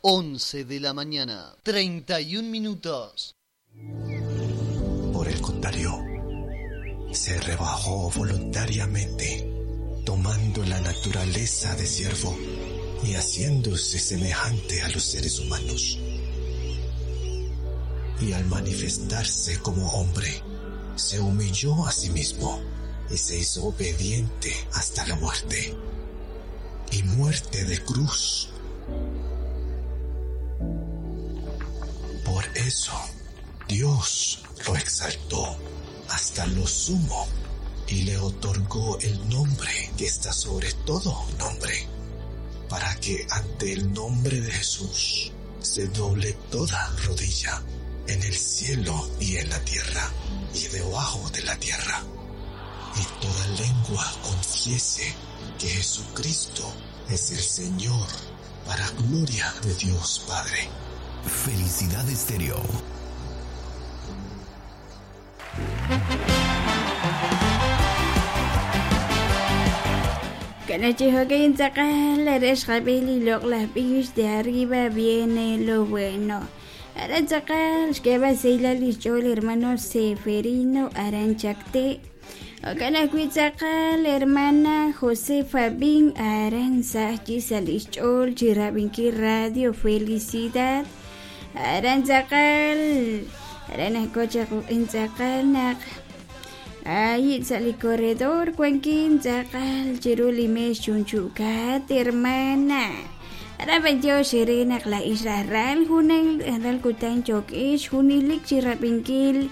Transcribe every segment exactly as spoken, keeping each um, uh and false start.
Once de la mañana, treinta y un minutos. Por el contrario, se rebajó voluntariamente, tomando la naturaleza de siervo y haciéndose semejante a los seres humanos. Y al manifestarse como hombre, se humilló a sí mismo y se hizo obediente hasta la muerte, y muerte de cruz. Por eso, Dios lo exaltó hasta lo sumo y le otorgó el nombre que está sobre todo nombre, para que ante el nombre de Jesús se doble toda rodilla en el cielo y en la tierra y debajo de la tierra, y toda lengua confiese que Jesucristo es el Señor, para gloria de Dios Padre. Felicidad Estéreo. De arriba viene lo bueno. Arantzakal, xkeba seila lichol hermano Seferino Aranchacte. Okanakuitzakal, hermana Josefa Bin Aranza, Chisalichol, Chirabinki Radio Felicidad. Arantzakal, Aranacocha Intzakal, Ay, sali corredor, cuenquín, tzakal, chiruli mes chunchucat, hermana. Araban Dios, Serena, la isla ral, junen, ral kutan chokish, junilik, chirapinkil,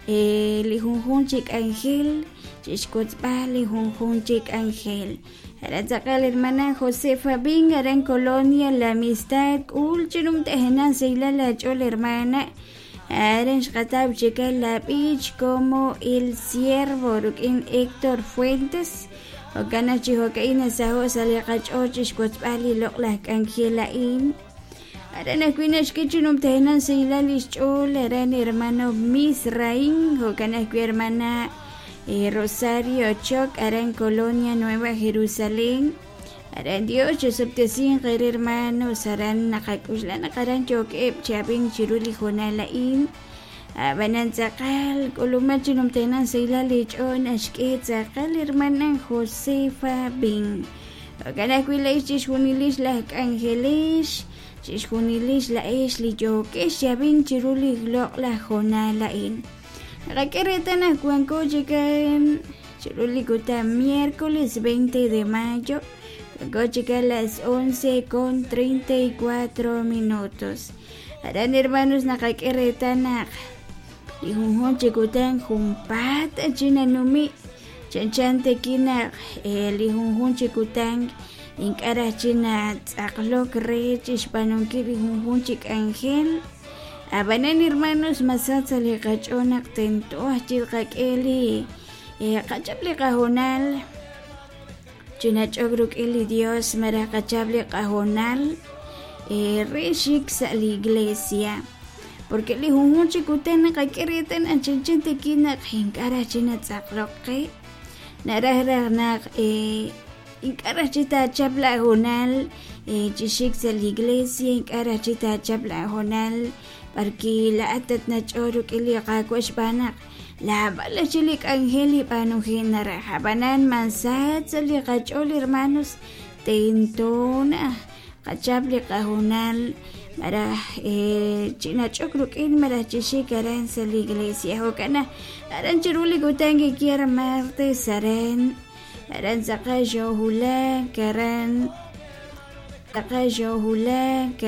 lijunjun chik ángel, chishkutzpa, lijunjun chik ángel. Aratzakal, hermana Josefa Bin, aran Colonia, La Amistad, ulchinum tejenan, seila la chol, hermana. Aran xqatab chikal la bich como el ciervo, rukin Héctor Fuentes. Okana chihokaina saho saliqach chixkutzpali loqlaj k'anjelain. Aran ajkuina xkichinum tejenan seilal ixch'ol, aran hermano Misraín, jokana ajkui hermana eh, Rosario Choc, aran Colonia Nueva Jerusalén. Aran Dios chosoptesin qer hermanos, aran naqak'uxlan qaran chok'eb chabin chiruli jonalain. Abanan tzakal, k'ulumachinum tejenan seilal ich'on axk'e tzakal hermana Josefa Bin. Okana ajkuila chixjunilix laj k'anjelix, chixjunilix la'ix li yokex chabin chiruli loq'laj jonalain. Naqak'e retan ajkuanko chikan chiruli kuta miércoles veinte de mayo, kuanko chikan las once con treinta y cuatro minutos. Aran hermanos naqak'e retanaq lijunjun chikutan jumpata chinanumi chanchan tekinaq lijunjun chikutan ink'araj china tz'aqlok re chixpanonkil lijunjun chik'anjel. Abanan hermanos masatza liqach'onaq tentoaj chilqak'eli qachap liqajonal chinach'ok ruk'il li Dios maraj qachap liqajonal re xik sa' la iglesia. Porque lijunjun chikutan naqak'e retan achanchan tekinaq ink'araj china tz'aqlok qe naraj raj naq ink'araj chitachap lajonal chixik sa' la iglesia ink'araj chitachap lajonal porque la'atat nach'o ruk'il liqak'wa xb'anaq lab'al chilik ángel ib'anujin naraj abanan mansat sa' liqach'ol hermanos tentona qachap liqajonal maraj chinach'ok ruk'in maraj chixik aran sa' la iglesia jokana aran chiruli kutan kikiar martes aran aran tzaqaj xojulak aran tzaqaj xojulak.